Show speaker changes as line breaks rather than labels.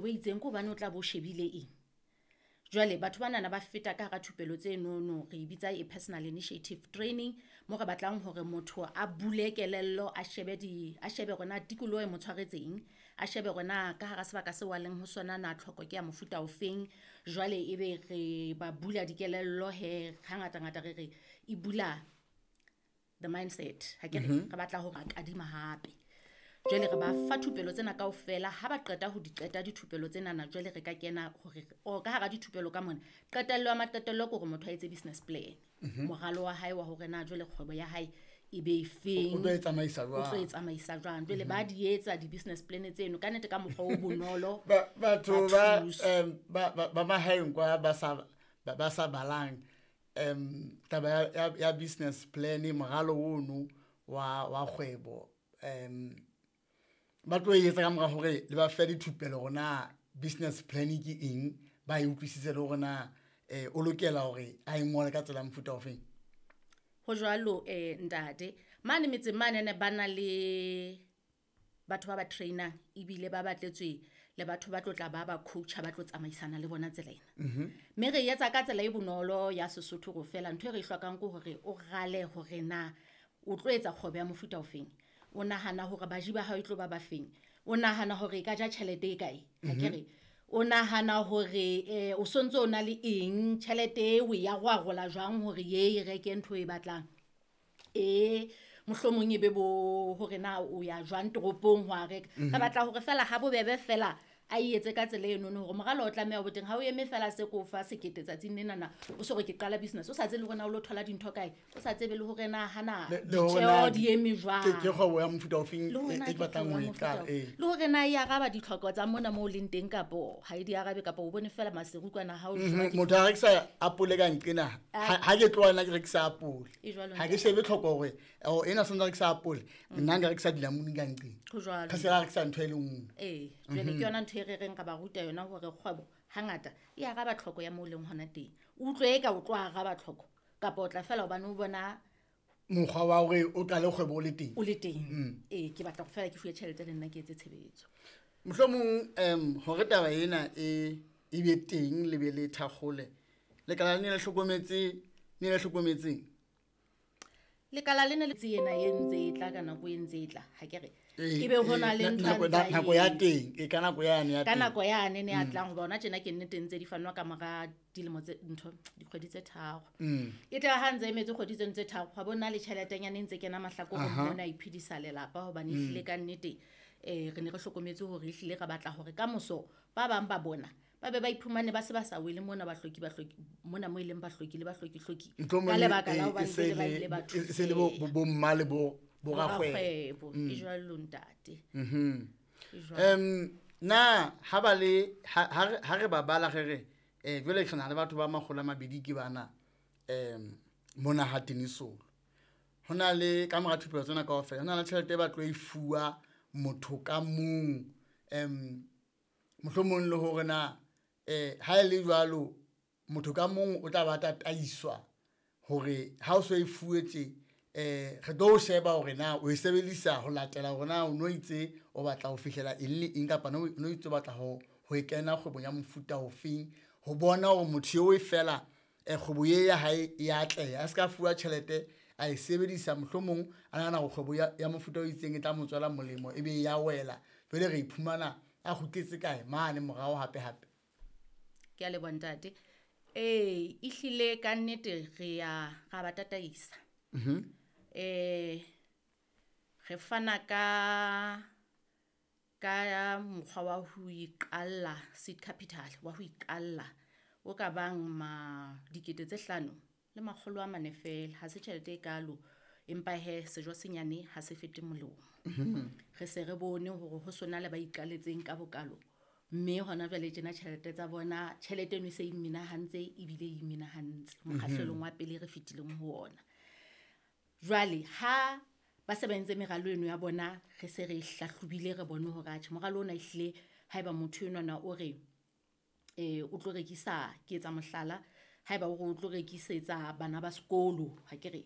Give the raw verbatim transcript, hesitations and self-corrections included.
kgwebo e itseng ke hobane o tla bo shebile eng. Jwale batho banana ba feta ka hara thupelo tse nono, re e bitsa e personal initiative training, mo re batlang hore motho a bule kelello, a shebe di a shebe hore na tikoloho e mo tshwaretseng, a shebe hore na ka hara sebaka seo a leng ho sona na tlhoko ke ya mofuta ofeng. Jwale ebe re ba bula dikelello he, hangata ngata re re e bula the mindset. Ha ke re re batla hore a kadima hape. Jwale re ba fa thupelo tsena kaofela, ha ba qeta ho di qeta dithupelo tsenana, jwale re ka kena hore o ka hara dithupelo ka mona. Qetello ya maqetello ke hore motho a etse business plan. Moralo wa hae wa hore na jwale kgwebo ya hae e be e feng.
O tlo e tsamaisa
O tlo e
jwang?
tsamaisa jwang. Jwale ba di etsa di-business plan tseno ka nnete ka mokgwa o bonolo.
Ba- batho
Ba
ba
thusa.
em, ba ba- ba mahaeng kwa ba sa ba ba sa balang em taba ya, ya, ya business plan, moralo ono wa wa kgwebo, em ba tlo e etsa ka mora hore le ba fe dithupelo hore na business plan ke eng, ba e utlwisise le hore na eh, o lokela hore a e ngole ka tsela ya mofuta ofeng.
Ho jwalo, eh ntate, mane metseng mane ne ba na le batho ba ba trainang, ebile ba batletswe le batho ba tlo tla ba ba coacha, ba tlo tsamaisana le bona tsela ena. Mme re etsa ka tsela e bonolo ya Sesotho go fela. Ntho e re e hlokang ke hore o rale hore na o tlo etsa kgwebo ya mofuta ofeng. O nahana hore baji ba hao e tlo ba ba feng. O nahana hore e ka ja tjhelete e kae. Ha ke re o nahana hore eh o sontso o na le eng, tjhelete e o ya rwarola jwang hore ye e reke ntho e batlang. E mohlomong e be bo hore na o ya jwang toropong ho a reka. Re batla hore fela ha bobebe fela a e etse ka tsela enono hore moralo o tlameha ho teng. Ha o eme fela se ko fa sekete tsatsing lenana, o so re ke qala business, o sa tsebe le hore na o lo thola dintho kae, o sa tsebe le hore na hana
Le- le hore
ditjeo
na
di eme
ke
jwang.
ke kgwebo ya mofuta ofeng
Le hore
e
na
e
ke
batlang
kgwebo
ho
ya
e
mofuta
qala,
o-
ee.
Le hore na e araba ditlhoko tsa mona moo o leng teng kapo ha e di arabe, kapa o bone fela maseru kwana ha o
Mhm,
jowa ke
motho a rekisa apole ka nqena,
Ah.
ha ha ke tloha nna ke rekisa apole,
E jwalo,
ha ke
ntate.
shebe tlhoko hore o ena santse a rekisa apole, nna nka rekisa dilamuni ka nqena.
Ho jwalo.
Ka se ka rekisa ntho e le nngwe.
Ee, jwale ke yona ntho e re reng re ba ruta yona hore kgwebo hangata e araba tlhoko ya moo o leng hona teng. O utlwe eka o tlo araba tlhoko kapa o tla fela hobane o bona
mokgwa wa hore o qale kgwebo o le teng.
O le teng. Ee, ke batla go fela ke fuwe tjhelete le nna ke etse tshebetso.
Mohlomong um hore taba ena e e be teng le be le thakgole, lekala le ne le hlokometse, ne le hlokometseng?
Lekala lena le ena e ntse e tla ka nako e ntse e tla, ha ke re
Ee,
e be ho na
ee,
le
na-
ntho
nako
a ntsa
nako ya
e-
teng, e ka nako yane ya
ka
teng.
Nako yane ne a tlang hoba hona tjena ke nnete ntse di fanwa ka mora dilemo tse ntho dikgwedi tse tharo.
Mm.
E tla ha ntse emetse kgwedi tseno tse tharo, hwa bona le tjheletenyana e ntse kena mahlakoreng
Aha.
mona, a iphedisa lelapa hobane ehlile ka nnete eh re ne re hlokometse hore ehlile re batla hore ka moso ba bang ba bona ba be ba iphumane ba se ba sa wele mona, bahloki bahloki mona mo e leng bahloki le bahloki hloki
Mohlomong
ka lebaka
e-
la
e
hobane
se
jwale ba
le-
ile ba
e se le bo
thuseha.
bo- bomma le bo bo rakgwebo.
Rakgwebo e jwalo, ntate.
Mhm.
E jwalo.
Em na ha ba le ha ha re- ha re ba bala re re eh jwale re na le batho ba makgolo a mabedi ke bana em mona ha Tenisolo, ho na le ka mora thupelo tsena kaofela ho na le tjhelete e ba tlo e fuwa motho ka mong, em mohlomong le hore na eh ha e le jwalo motho ka mong o tla ba tataiswa hore ha o so e fuwe tje, eh re tlo o sheba hore na o e sebedisa ho latela hore na o no itse o batla ho fihlela eng le eng, kapa no no itse o batla ho ho e kena kgwebong ya mofuta ofeng, ho bona hore motho eo e fela eh, kgwebo ye ya hae e atleha, a se ka fuwa tjhelete a e sebedisa mohlomong a nahana hore kgwebo ya, ya mofuta o itseng e tla mo tswela molemo, e be ya wela, jwale re iphumana a kgutletse kae mane morao hape hape.
Ke a leboha, ntate. Ee, ehlile ka nnete re ya ra ba tataisa.
Mhm.
Eh re fana ka ka mokgwa wa ho iqalla seed capital, wa ho iqalla o ka bang ma dikete tse hlano le makgolo a mane fela. Ha se tjhelete e kalo, empa he sejo senyane ha se fete molomo. Re se re bone hore ho sona le ba iqaletseng ka bokalo, mme hona jwale tjena tjhelete tsa bona, tjhelete eno e se e imenahantse ebile e imenahantse mokgahlelong wa pele re fetileng ho ona. Jwale ha ba se ba entse meralo eno ya bona, re se re e hlahlobile, re bone hore atjhe moralo ona ehlile haeba motho enwana o re eh o tlo rekisa, ke etsa mohlala, haeba o re o tlo rekisetsa bana ba sekolo, ha ke re